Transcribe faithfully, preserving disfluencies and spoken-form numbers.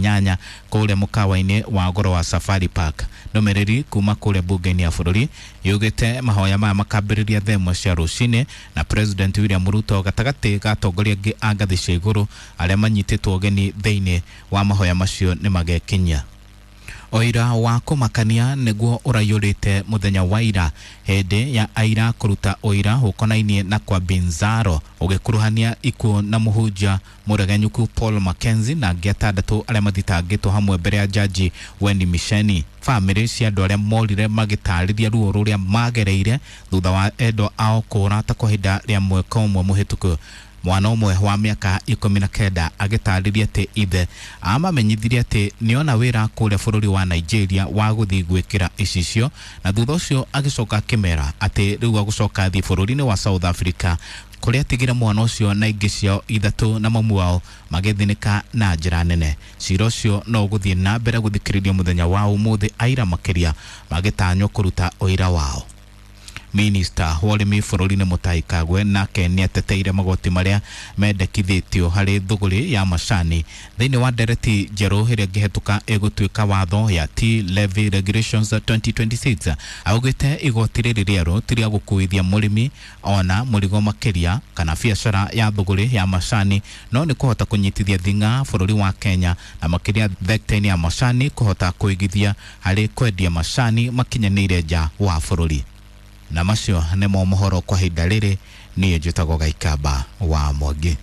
inyanya kũrĩa mũkawa-inĩ wa goro wa Safari Park. Ndũmĩrĩri kuma kũrĩa mbunge-inĩ ya bũrũri yugĩte mahoya maya makambĩrĩria thaa ĩmwe cia rũcinĩ na President William Ruto gatagatĩ ga atongoria angĩ a ngathĩ cia igũrũ arĩa manyitĩtwo ũgeni thĩinĩ wa mahoya macio nĩ magekinyia. Ũira wa kũmakania nĩguo ũraiyũrĩte mũthenya wa ira hĩndĩ ya aira kũruta ũira ũkonainie na kwa Binzaro ũgĩkuruhania ikuũ na mũhunjia mũregenyũku Paul Mackenzie na angĩ atandatũ arĩa mathitangĩtwo hamwe mbere ya jaji Wendy Micheni. Bamĩrĩ cia andũ arĩa morire magĩtarĩria ruo rũrĩa magereire thutha wa endwa ao kũra ta kwa ihinda rĩa mwaka ũmwe mũhĩtũku. Mwana ũmwe wa mĩaka ikũmi na kenda agĩtarĩria atĩ ithe amamenyithirie atĩ nĩona wĩra kũrĩa bũrũri wa Nigeria wa gũthiĩ gwĩkĩra icicio, na thutha ũcio agĩcoka akĩmera atĩ rĩu agũcoka athiĩ bũrũri-inĩ wa South Africa kũrĩa atigire mwana ũcio na ingĩ ciao ithatũ na mamu wao magĩthĩnĩka na njĩra nene. Cira ũcio no ũgũthiĩ na mbere gũthikĩrĩrio mũthenya wa ũmũthĩ, aira makĩria magĩtanywo kũruta ũira wao. Minista wa ũrĩmi bũrũri-inĩ Mutahi Kagwe nake nĩateteire magoti marĩa mendekithĩtio harĩ thũgũrĩ ya macani thĩinĩ wa ndereti njerũ ĩrĩa ĩngĩhetũka ĩgũtuĩka watho ya Tea Levy Regulations twenty twenty-six. Augĩte igoti rĩrĩ rĩerũ ti rĩa gũkuithia mũrĩmi ona mũrigo makĩria kana biacara ya thũgũrĩ ya macani, no nĩ kũhota kũnyitithia thing'a bũrũri wa Kenya na makĩria thekta-inĩ ya macani kũhota kũigithia harĩ kwendia macani makinyanĩire nja wa bũrũri. Na macio nĩmo mohoro kwa ihinda rĩrĩ. Niĩ njĩtagwo Gaikamba wa Mwangi.